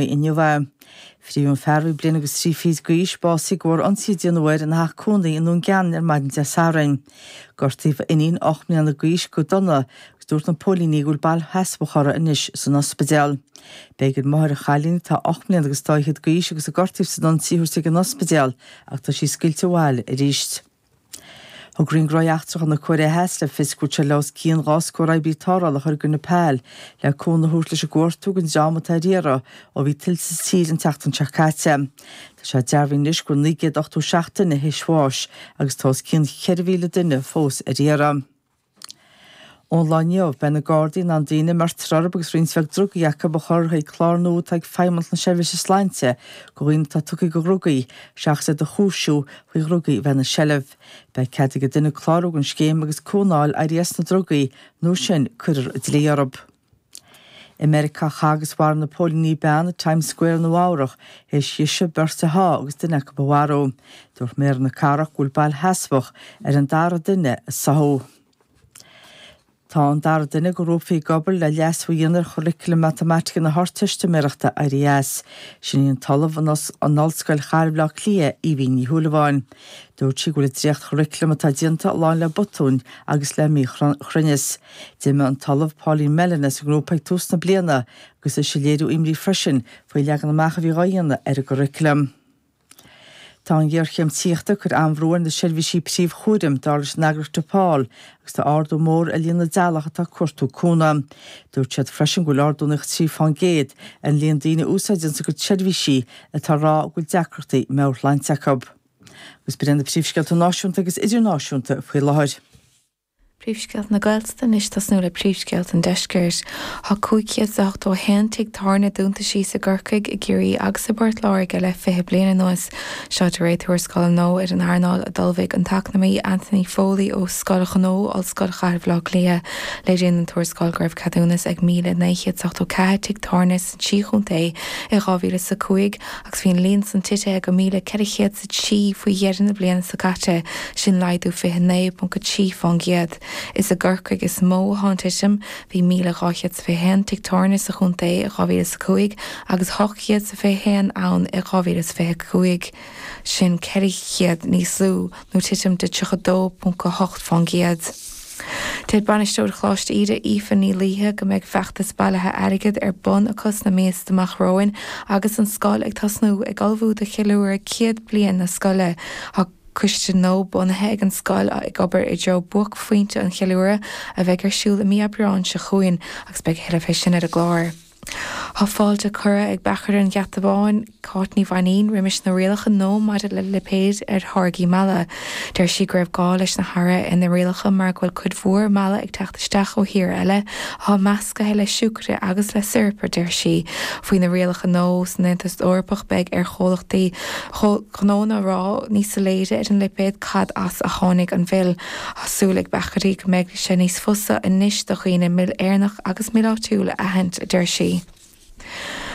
Inniu é. Frítheadh an fear a bhí bliain agus thrí fichid d'aois, básaithe de bharr ionsaí a déanadh air ina theach cónaí i nDún Geanainn ar maidin Dé Sathairn. Gortaíodh a iníon, 8 mbliana d'aois, go dona agus dúirt na póilíní go bhfuil bail sheasmhach uirthi anois san ospidéal. B'éigean máthair an chailín, atá 8 mbliana agus dá fhichead d'aois agus a gortaíodh san ionsaí, a thabhairt ag an ospidéal ach tá sí scaoilte abhaile arís. Thug Roinn Gnóthaí Eachtracha na Cóiré Theas le fios go bhfuil sé le os cionn 2 scór oibrí tarrthála a chur i gcoinne Pal le cúnamh a thabhairt leis an gcuartú don dream atá ar iarraidh ó bhí tuilte sa tír an tseachtain seo caite. Tá sé dearbhaithe anois go bhfuil 987 duine théis bháis agus tá os cionn 4,000 duine fós ar iarraidh. Ón lá inniu, beidh na Gardaí in ann daoine a mbeirtear orthu agus roinnt bheag drugaí acu a chur chuig clár nua atá ag Feidhmeannacht na Seirbhíse Sláinte do dhaoine atá tugtha do dhrugaí, seachas iad a chúisiú faoi dhrugaí a bheith ina seilbh. Beidh cead ag an duine clárú don scéim agus cúnamh a fháil éirí as na drugaí, nó sin cuirfear an dlí orthu. I Meiriceá chaith agus mharaigh na póilíní bean i Times Square i Nua Eabhrach théis dise beirt a shá agus duine acu a mharú. Dúirt méara na cathrach go bhfuil bail sheasmhach ar an dara duine a sáthadh. Tá an dara duine de ghrúpa a bhí ag obair le leasú a dhéanamh ar churaclam matamaitice na hArdteistiméireachta éirithe as. Sin í an tOllamh in Ollscoil Chathair Bhaile Átha Cliath, Aoibhín Ní Shúilleabháin. Dúirt sí go bhfuil an dréachtchuraclam atá déanta lán le botúin agus le míchruinneas. D'imigh an tOllamh Pauline Mellon as an ngrúpa ag tús na bliana agus ise ag léiriú imní freisin faoi leagan amach a bhí dhá dhéanamh ar an gcuraclam. Tá an ghéarchéim tithíochta ag cur an-bhrú ar na seirbhísí príomhchúraim, dar leis an eagraíocht Depaul, agus tá ardú mór ar líon na dteaghlach atá ag cuartú cúnamh. Dúirt siad freisin go bhfuil ardú 93% ar an líon daoine a úsáideann a gcuid seirbhísí atá ag rá go bhfuil deacrachtaí meabhairshláinte acu. Agus b'in iad na príomhscéalta náisiúnta agus idirnáisiúnta faoi láthair. Príomhscéalta na Gaeltachta anois tosnú le príomhscéalta an Deiscirt. Tá 581 tigh tábhairne dúnta síos i gCorcaigh, i gCiarraí agus i bPort Láirge le 20 bliain anuas. Seo de réir tuarascáil nua ar an earnáil a d'ullmhaigh an t-eacnamaí Anthony Foley ó Scoil Ghnó Ollscoil Chathair Bhaile Átha Cliath. Léiríonn an tuarascáil go raibh ceadúnas ag 1,984 tigh tábhairne sna trí chontae i 2005 agus bhí an líon san titithe go 1,403 faoi dheireadh na bliana seo caite, sin laghdú 29.3%. Is i gCorcaigh is mó atá an titim, bhí 1,221 tigh tábhairne sa chontae i 2005 agus 821 ann i 2025, sin 400 níos lú nó titim de 32.8%. Deir Bainisteoir Choláiste Íde, Aoife Ní Laoithe, go mbeidh feachtas bailithe airgid ar bun acu sna míosa amach romhainn agus an scoil ag tosnú ag ullmhú do cheiliúradh 100 bliain na scoile. Tá coiste nua bunaithe ag an scoil ag obair i dtreo buaicphointe an cheiliúradh a bheidh ar siúl i mí Aibreáin seo chugainn agus beidh a thuilleadh fé sin ar an gclár. Tá fáilte curtha ag beachaire an Gheata Bháin, Cáit Ní Mhainín, roimis na rialacha nua maidir le lipéid ar tháirgí meala. Deir sí go raibh gá leis na hathruithe ar na rialacha mar go bhfuil cuid mhór meala ag teacht isteach ó thíortha eile atá meascaithe le siúcra agus le siorap, a deir sí. Faoi na rialacha nua san Aontas Eorpach beidh ar chomhlachtaí gnónna a rá níos soiléire ar an lipéad cad as a tháinig an mhil. Tá súil ag beachairí go mbeidh sé níos fusa anois do dhaoine mil Éireannach agus mil áitiúil a aithint, a deir sí.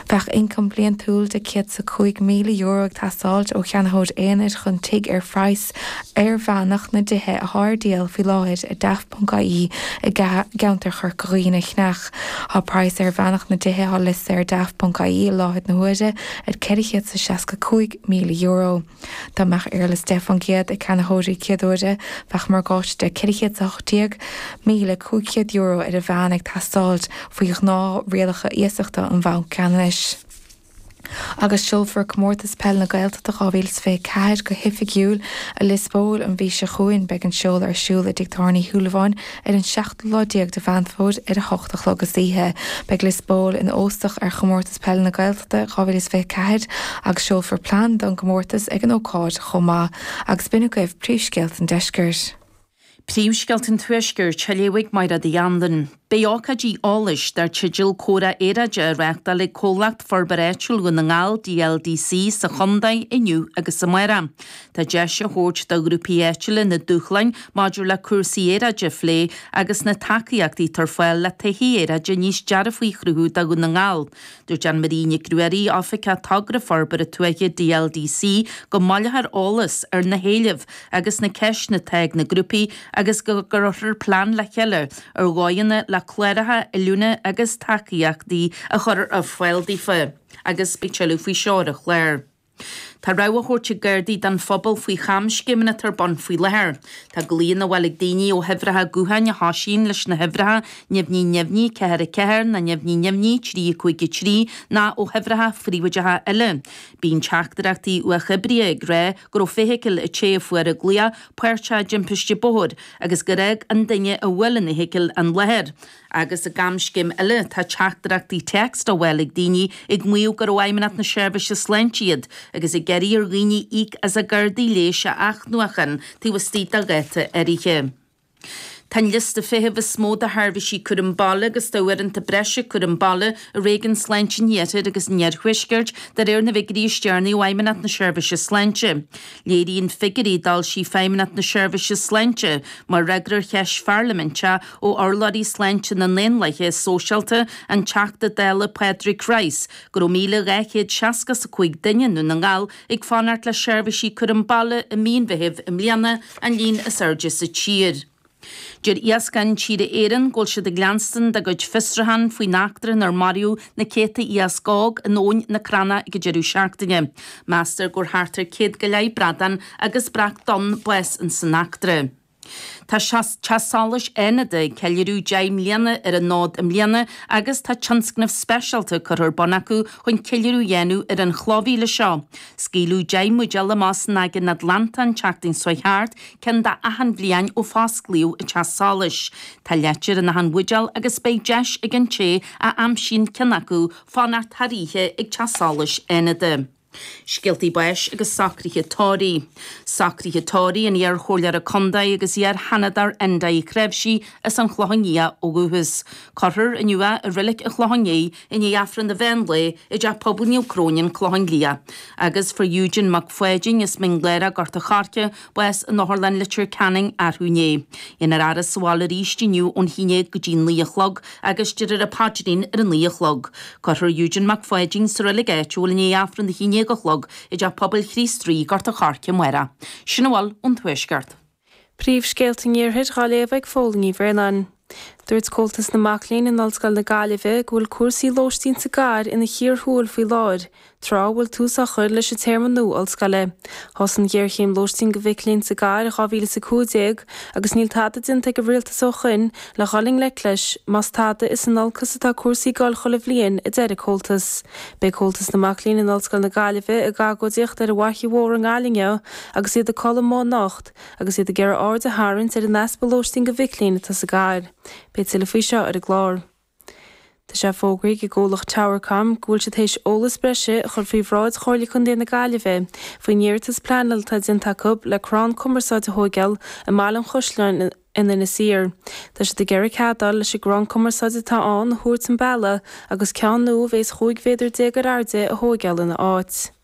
Bheadh ioncam bliantúil de €105,000 ag teastáilt ó cheannaitheoir aonair chun tigh ar phraghas airmheánach na dtithe atá ar díol faoi láthair ar Daft.ie i gceantar Chorca Dhuibhne a cheannach. Tá praghas airmheánach na dtithe atá liostaithe ar Daft.ie i láthair na huaire ar €465,000. Dá mbeadh éarlais 10% ag ceannaitheoirí céaduaire, bheadh morgáiste de €418,500 ar an mheán ag teastáilt faoi ghnáth-rialacha iasachta an Bhainc Ceannais. Agus seolfar Comórtas Peile na Gaeltachta 2024 go hoifigiúil i Lios Póil an mhí seo chugainn. Beidh an seoladh ar siúl i dTigh Tábhairne Uí Shúilleabháin ar an seachtú lá déag de Mheán Fómhair ar a hocht a chlog istoíche. Beidh Lios Póil ina óstach ar Chomórtas Peile na Gaeltachta 2024 agus seolfar plean don gcomórtas ag an ócáid chomh maith. Agus b'in agaibh príomhscéalta an deiscirt. Príomhscéalta an Tuaiscirt, á léamh ag Mairéad Uí Anluain. Beidh ócáidí eolais dar teideal Comhrá Aeráide á reáchtáil ag Comhlacht Forbartha Áitiúil Dhún na nGall, DLDC, sa chontae inniu agus amárach. Tá deis á thabhairt do ghrúpaí áitiúla na dúshláin maidir le cúrsaí aeráide a phlé agus na tacaíochtaí atá ar fáil le todhchaí aeráide níos dearfaí a chruthú do Dhún na nGall. Dúirt Anne Marie Nic Ruairí, Oifigeach Togra Forbartha Tuaithe DLDC, go mbaileofar eolas ar na héilimh agus na ceisteanna atá ag na grúpaí agus go gcuirfear plean le chéile ar dhóigheanna le. cláracha oiliúna agus tacaíochtaí a chur ar fáil daofa agus beidh tuilleadh faoi seo ar an chlár. Tá rabhadh á thabhairt ag Gardaí don phobal faoi chamscéimeanna atá ar bun faoi láthair. Tá glaonna á bhfáil ag daoine ó huimhreacha gutháin a thosaíonn leis na huimhreacha neamhní neamhní 4 4 nó neamhní neamhní 3 5 3 nó ó huimhreacha phríobháideacha eile. Bíonn teachtaireachtaí uathoibrithe ag rá go raibh feithicil an té a fuair an glaoch páirteach i dtimpiste bóthair agus gur fhág an duine a bhuail an fheithicil an láthair. Agus i gcamscéim eile, tá teachtaireachtaí téacs á bhfáil ag daoine ag maíomh gur ó Fheidhmeannacht na Seirbhíse Sláinte iad agus ag iarraidh ar dhaoine íoc as a gcártaí leighis a athnuachan taobh istigh de dháta áirithe. Tá an liosta feithimh is mó do sheirbhísí cúram baile agus d'uaireanta breise cúram baile i Réigiún Sláinte an Iarthair agus an Iarthuaiscirt de réir na bhfigiúirí is deireanaí ó Fheidhmeannacht na Seirbhíse Sláinte. Léiríonn figiúirí a d'fhoilsigh Feidhmeannacht na Seirbhíse Sláinte mar fhreagra ar cheist pharlaiminte ó urlabhraí sláinte na nDaonlathaithe Sóisialta, an Teachta Dála Pádraig Rice, go raibh 1,265 duine i nDún na nGall ag fanacht le seirbhísí cúram baile i mí an Mheithimh i mbliana, an líon is airde sa tír. Deir Iascach Intíre Éireann go bhfuil siad ag leanstan dá gcuid fiosrúchán faoin eachtra inar maraíodh na céadta iasc óg in Abhainn na Crannach ag an deireadh seachtaine. Meastar go bhfuair thart ar 100 go leith bradán agus breac donn bás ins an eachtra. Tá Teach Solais Fhánada ag ceiliúradh 10 mbliana ar an fhód i mbliana agus tá tionscnamh speisialta curtha ar bun acu chun ceiliúradh a dhéanamh ar an chlóbhféile seo. Scaoileadh 10 mbuidéal amach san Aigéan Atlantach an tseachtain seo thart, ceann d'achan bhliain ó fosclaíodh an Teach Solais. Tá leitir in achan bhuidéal agus beidh deis ag an té a aimsíonn ceann acu fanacht thar oíche ag Teach Solais Fhánada. Scéaltaí báis agus socruithe tórraimh. Socruithe tórraimh an iar-chomhairleora contae agus iar-sheanadóir Enda Uí Chnáimhsí as an Chlochán Liath ó dhúchas. Cuirfear inniu é i Reilig an Chlocháin Léith i ndiaidh Aifreann an mheán lae i dTeach Pobail Naomh Cróinín, Clochán Liath. Agus fuair Eugene Mac Pháidín as Mín Lárach, Gort a' Choirce, bás in Otharlann Leitir Ceanainn arú inné. Déanfar a fhaire sa bhaile arís inniu ón 11 go dtí 9 a chlog agus déarfar an paidrín ar a 9 a chlog. Cuirfear Eugene Mac Pháidín sa reilig áitiúil i ndiaidh Aifreann a 11 a chlog i dTeach Pobail Chríost Rí, Gort a' Choirce amárach. Sin a bhfuil ón Tuaisceart. Príomhscéalta an Iarthair dhá léamh ag Fódhla Ní Bhraonáin. Dúirt Comhaltas na Mac Léinn in Ollscoil na Gaillimhe go bhfuil cúrsaí lóistín sa gcathair ina chíor thuathail faoi láthair, tráth a bhfuil tús á chur leis an téarma nua ollscoile. Thosaigh an ghéarchéim lóistín do mhic léinn sa gcathair in 2015 agus níl tada déanta ag an rialtas ó shoin le dhul i ngleic leis, más tada is in olcas atá cúrsaí ag dul chuile bhliain, a deir an Comhaltas. Beidh Comhaltas na Mac Léinn in Ollscoil na Gaillimhe ag agóidíocht ar an bhFaiche Mhór i nGaillimh inniu agus iad ag codladh amuigh anocht agus iad ag iarraidh aird a tharraingt ar an easpa lóistín do mhic léinn atá sa gcathair. Beidh tuilleadh faoi seo ar an gclár. Tá sé fógraithe ag an gcomhlacht Towercom go bhfuil siad théis eolas breise a chur faoi bhráid Chomhairle Contae na Gaillimhe faoin iarratas pleanála atá déanta acu le crann cumarsáide a thóigeáil i mBaile an Chaisleáin in Inis Oírr. Tá siad ag iarraidh cead a fháil leis an gcrann cumarsáide atá ann a thabhairt chun bealaigh agus ceann nua a bhéas 15 mhéadar ar airde a thóigeáil ina áit.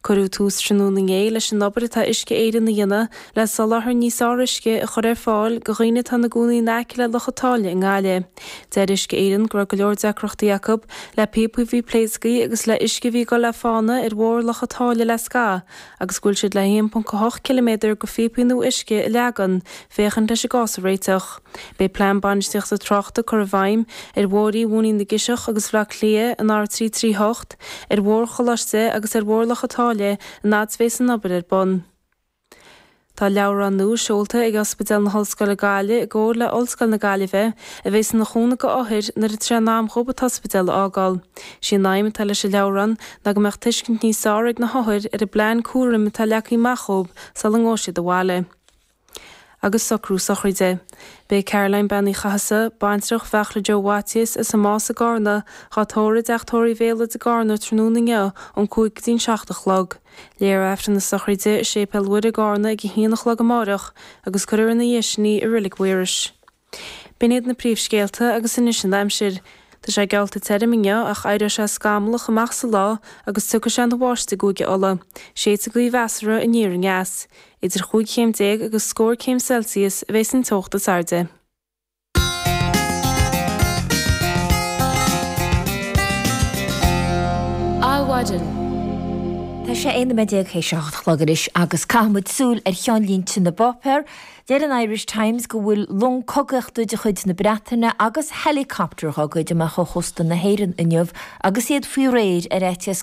Cuireadh tús tráthnóna inné leis an obair atá Uisce Éireann a dhéanamh le soláthar níos fearr uisce a chur ar fáil do dhaoine atá ina gcónaí in aice le Loch an tSáile i nGaillimh. Deir Uisce Éireann go raibh go leor deacrachtaí acu le píopaí a bhí pléasctha agus le uisce a bhí ag dul le fána ar bhóthar Loch an tSáile le scaitheamh agus go bhfuil siad le 1.8 ciliméadar de phíopaí nua uisce a leagan féachaint leis an gcás a réiteach. Beidh plean bainistíochta tráchta curtha i bhfeidhm ar bhóithrí Mhóinín na gCiseach agus Bhaile Átha Cliath, an R338, ar Bhóthar Choláiste agus ar Bhóthar Loch an tSáile an fhad is bhéas an obair ar bun. Tá leabhrán nua seolta ag Ospidéal na hOllscoile Gaillimh i gcomhar le Ollscoil na Gaillimhe a bhéas ina chúnamh go othair nuair atá sé in am dhóibh an t-ospidéal a fhágáil. Sí an aidhm atá leis an leabhrán ná go mbeadh tuiscint níos fearr ag na hothair ar an bplean cúraim atá leagtha amach dhóibh sula ngabhfaidh siad abhaile. Agus socrú sochraide. Beidh Caroline Bean Uí Chathasaigh, baintreach Bheachla Joe Mhaitias as an Más i gCarna, dhá tórramh i dTeach Tórraimh Bhéaloid i gCarna tráthnóna inniu ón 5 go dtí'n 7 a chlog. Léifear Aifreann na sochraide i Séipéal Mhuire i gCarna ag a haon a chlog amáireach agus cuirfear ina dhiaidh sin í i Reilig Mhaorais. B'in iad na príomhscéalta agus anois an aimsir. Tá sé geallta tirim inniu ach éireoidh sé scamallach amach sa lá agus tiocfaidh sé ina bháisteach i gCúige Uladh. Séidfidh gaoth mheasartha aniar aneas. Idir chúig chéim déag agus scór céim Celsius a bheas an teocht is airde. Adhmhaidin. Tá sé 11 nóiméad théis a 8 a chlog anois agus caithfidh muid súil ar cheannlínte na bpáipéar. Deir an Irish Times go bhfuil long cogaíochta de chuid na Breataine agus helicopter dhá gcuid amach ó chósta na hÉireann inniu agus iad faoi réir ar fhaitíos.